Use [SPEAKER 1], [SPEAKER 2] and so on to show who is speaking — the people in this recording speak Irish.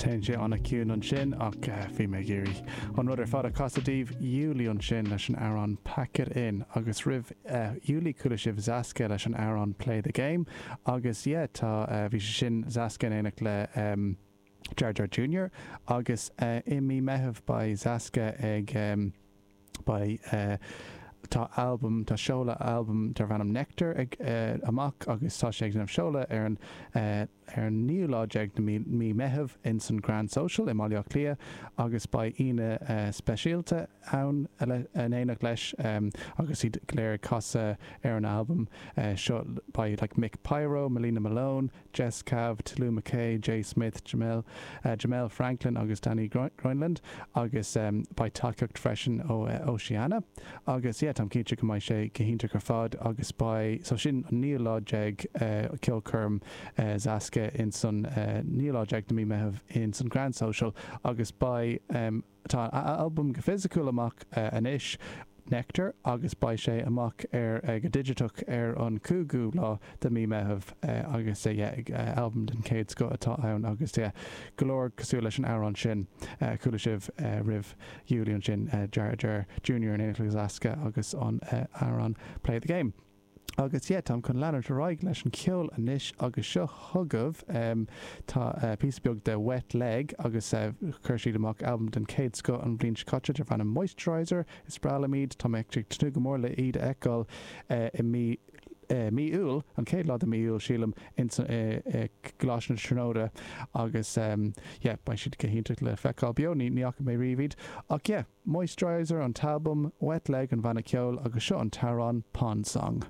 [SPEAKER 1] Téann sé an-chiúin ansin ach bhí mé ag iarraidh an rud ar fad a chasadh daoibh. Julie ansin leis an amhrán Pack It In agus roimh Julie chuala sibh Zaska leis an amhrán Play The Game agus yeah tá bhí sé sin Zaska in éineacht le Jar Jar Junior agus i mí Meitheamh beidh Zaska ag Beidh tá albam, tá seoladh albam darb ainm Nectar ag amach agus tá sé ag déanamh seoladh ar an ar an naoú lá déag de mí Meitheamh ins an Grand Social i mBaile Átha Cliath agus beidh aíonna speisialta ann in éineacht leis agus iad go léir ag casadh ar an albam seo. Beidh like Mick Pyro, Melina Malone, Jess Cav, Tolü Makay, Jay Smith, Jamel Jamel Franklin agus Danny Grønlund agus beidh tacaíocht freisin ó Oceana agus yeah táim cinnte go mbeidh sé go hiontach ar fad agus beidh so sin an naoú lá déag ceolchoirm Zaska ins an naoú lá déag de mí Meitheamh ins an Grand Social agus beidh Tá a albam go fisiciúil amach anois, Nectar, agus beidh sé amach ar go digiteach ar an 5ú lá de mí Meitheamh agus yeah albam den chéad scoth atá ann agus yeah go leor cosúil leis an amhrán sin a chuala sibh roimh Julie ansin, Jar Jar Junior in éineacht le Zaska agus an amhrán Play the Game. Agus yeah, táim chun leanúint ar aghaidh leis an cheol anois agus seo chugaibh, tá píosa beag de Wet Leg agus chuir siad amach albam den chéad scoth an bhliain seo caite darb ainm Moisturizer. Is breá liom iad, tá mé ag tnúth go mór le iad a fheiceáil i mí mí Iúil, an chéad lá de mí Iúil sílim, ins i gColáiste na Tríonóide agus yeah, beidh siad go hiontach le feiceáil beo, ní ní fhaca mé riamh iad ach yeah. Moisturizer an t-albam, Wet Leg an banna ceoil agus seo an t-amhrán Pond Song.